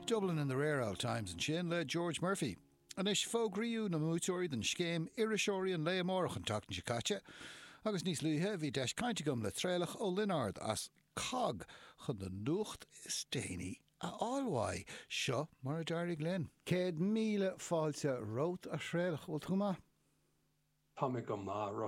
Dublin in the Rare Old Times ansin le George Murphy. Anois, fógraíodh na mbuaiteoirí don scéim Iriseoirí an Lae Amárach an tseachtain seo caite, agus níos luaithe bhí deis caint agam le Traolach Ó Lionáird as COGG chun na nuacht is déanaí a fháil uaidh. Seo mar a d'éirigh linn. 100,000 fáilte romhat, a Thraolach. Bhfuil tú go maith? Tá mé go maith, Rossa.